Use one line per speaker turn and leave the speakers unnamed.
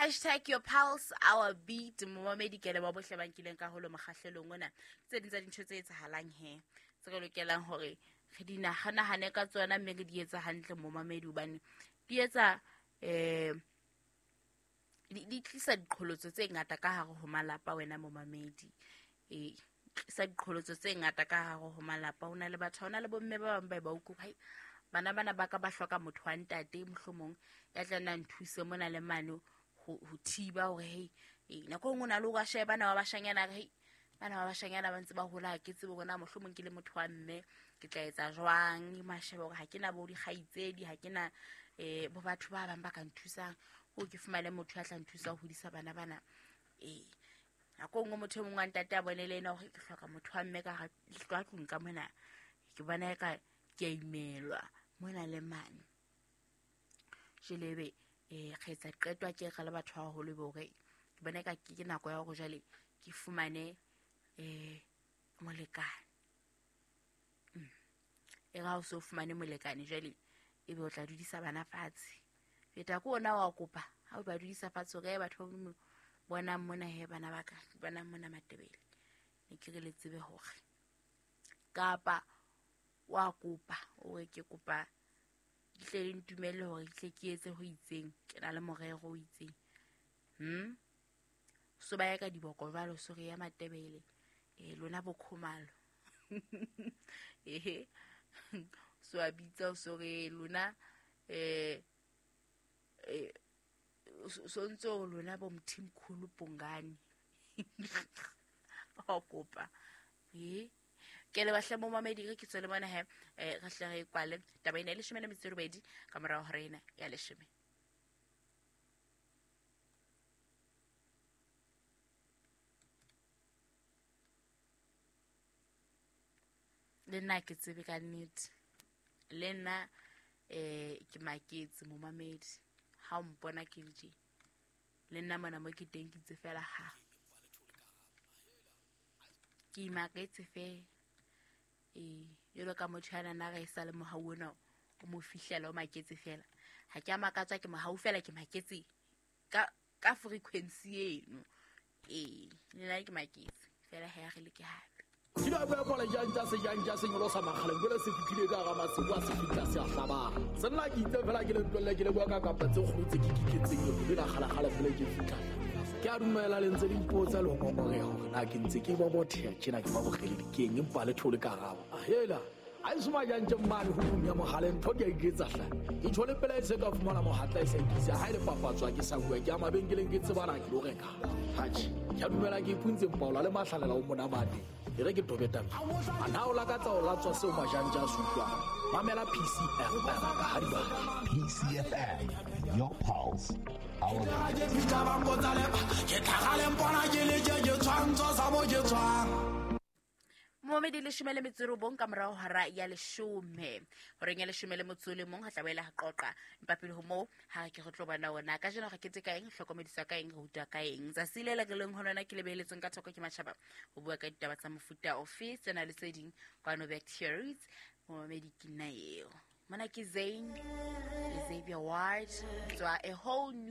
Hashtag your pulse our beat. Momamedi ke leboha bohle ba nkileng karolo mokgahlelong ona. Tse ding tsa dintho tse etsahalang he tse re lokelang hore re di nahanahane ka tsona, mme re di etsa hantle momamedi, hobane di etsa di tlisa diqholotso tse ngata ka hare ho malapa. Wena momamedi, tlisa diqholotso tse ngata ka hare ho malapa. Ho na le batho, ho na le bomme ba bang ba ba utlwa, hai bana bana ba ka ba hloka motho wa ntate mohlomong ya tla nna nthuse mona le mane ho thiba hore hei nako e nngwe o na le hore a shebe bana ba bashanyana, re hei bana ba bashanyana ba ntse ba hola, ha ke tsebe hore na mohlomong ke le motho wa mme ke tla etsa jwang. Mashebe hore ha ke na bo dikgaitsedi, ha ke na bo batho ba bang ba ka nthusang hore ke fumane motho ya tla nthusa ho hodisa bana bana. Nako e nngwe motho e mongwe wa ntate a bone le ena hore ke hloka motho wa mme ka ka tlung ka mona, ke bona eka ke a imelwa mona le mane. Jwale ebe re etsa qeto a ke re le batho ba baholo, ebe hore ke bona eka ke nako ya hore jwale ke fumane molekane. E re ha o so fumane molekane jwale ebe o tla dudisa bana fatshe. Feta ke ona wa kopa ha o ba dudisa fatshe hore batho ba Modimo bonang mona he bana ba ka, bonang mona Matebele, ne ke re le tsebe hore kapa wa kopa o re ke kopa ke tle le ntumelle hore ke tle ke etse ho itseng, ke na le morero o itseng. So ba ya ka diboko jwalo, so re ya Matebele, lona bo Khumalo. Ehe. So a bitsa so re lona so ntse o lona bo Mthimkhulu Bhungane. Wa kopa. Ke le bahle mo mamedi re ke tswele mona he, re hle re kwale taba ena e 18 ka morao hora ena ya 10. Le nna ke tsebe ka nnete, le nna ke maketse momamedi ha o mpona ke le tje, le nna mona mo ke teng ke itse fela ha ke imaketse fela. Jwalo ka motho ya nana re sa le mohau ona o mo fihlela o maketse fela, ha ke a makatswa ke mohau fela, ke maketse ka frequency eno. Le nna ke maketse fela ha re le ke hape.
Ke ba bua kola jang tsa se jang tsa senyolo sa makgaleng, jwale se fihlile ka hara masimo a se fihla se a hlabang. Se nna ke itse fela ke le tlohelle ke le bua ka kapa tse kgolo tse ke kiketseng eo, le la kgalakgala fela ke fihla. Ke a dumela le ntse le ipotsa le ho ngongoreha hore na ke ntse ke bobotheha tjena ke ba bokgeledi keng, empa le thole karabo. Hela, ha e se majantje mmane ho tlung ya mohaleng, ntho ke a iketsa hle. Ke tjho le pela e se ka fumana mohatla e sa ikisa, ha e le papatswa ke sa bua, ke ya mabenkeleng ke tsebana ke lo reka. Atjhe, ke a dumela ke ipuntse mpaola le mahlalela o monamane. E re ke tobe taba. A na o lakatsa ho latswa seo majantje a se utlwang? Mamela PCFM ka ha di batla.
PCFM, your pulse, our
Ke fihla ba mpotsa le ba, ke tlhaga le mpona ke le tje, ke tshwantsho sa mo ke tswang.
Momedi 19 ka morao hora ya 10. Horeng ya 11 ha tla boela ha qoqa. Empa pele ho moo, ha ke re tlo bona ona. Kajeno re kete ka eng, hlokomediswa ka eng, re rutwa ka eng. Tsatsi le le re leng ho lona ke le behelletsweng ka thoko ke matjhaba ho bua ka ditaba tsa mofuta ofe, tsena le tse ding kwano Back to Your Roots. Momedi ke nna eo. Mona ke Zayn, Xavier Ward, tswa a whole new